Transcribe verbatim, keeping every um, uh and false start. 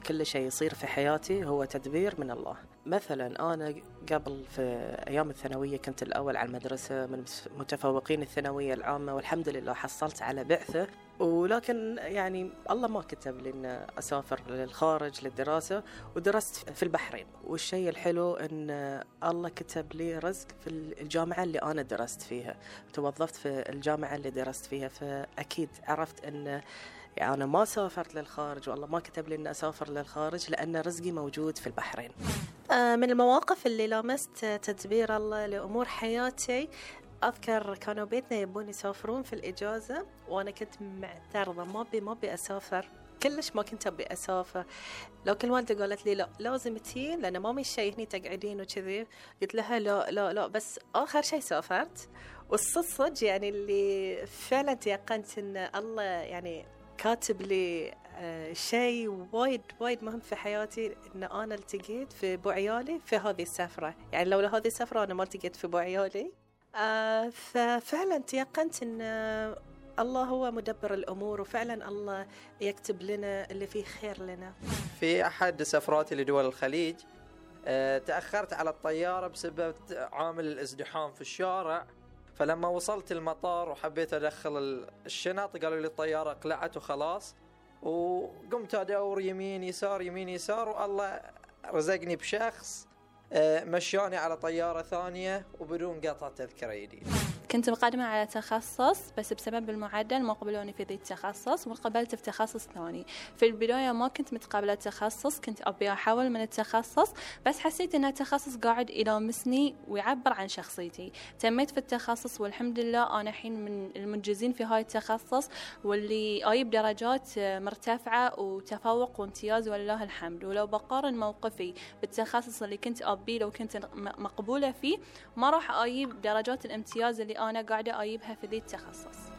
كل شيء يصير في حياتي هو تدبير من الله. مثلا أنا قبل في أيام الثانوية كنت الأول على المدرسة من متفوقين الثانوية العامة، والحمد لله حصلت على بعثة، ولكن يعني الله ما كتب لي أن أسافر للخارج للدراسة، ودرست في البحرين. والشيء الحلو أن الله كتب لي رزق في الجامعة اللي أنا درست فيها، توظفت في الجامعة اللي درست فيها، فأكيد عرفت أن يعني أنا ما سافرت للخارج والله ما كتب لي أن أسافر للخارج، لأن رزقي موجود في البحرين. من المواقف اللي لامست تدبير الله لأمور حياتي، أذكر كانوا بيتنا يبون يسافرون في الإجازة، وأنا كنت معترضة ما بي ما بي أسافر، كلش ما كنت أبي أسافر. لو كل والدة قالت لي لا لازم تين لأن ما مش شيء هني تقعدين وكذي، قلت لها لا لا لا. بس آخر شيء سافرت، والصدق يعني اللي فعلا تيقنت إن الله يعني كاتب لي آه شيء وايد وايد مهم في حياتي، إن أنا التقيت في أبو عيالي في هذه السفرة. يعني لولا هذه السفرة أنا ما التقيت في أبو عيالي. آه ففعلا تيقنت إن آه الله هو مدبر الأمور، وفعلا الله يكتب لنا اللي فيه خير لنا. في أحد سفراتي لدول الخليج آه تأخرت على الطيارة بسبب عامل الازدحام في الشارع، فلما وصلت المطار وحبيت أدخل الشنط قالوا لي الطيارة اقلعت وخلاص، وقمت أدور يمين يسار يمين يسار، والله رزقني بشخص مشاني على طيارة ثانية وبدون قطع تذكرة جديدة. كنت مقدمة على تخصص، بس بسبب المعدل ما قبلوني في ذي التخصص، وقبلت في تخصص ثاني. في البداية ما كنت متقبلة تخصص، كنت أبي أحول من التخصص، بس حسيت إن التخصص قاعد يلامسني ويعبر عن شخصيتي. تميت في التخصص والحمد لله أنا حين من المنجزين في هاي التخصص، واللي أجيب درجات مرتفعة وتفوق وامتياز ولله الحمد. ولو بقارن موقفي بالتخصص اللي كنت أبي لو كنت مقبولة فيه، ما راح أجيب درجات الامتياز اللي أنا قاعدة أجيبها في ذي التخصص.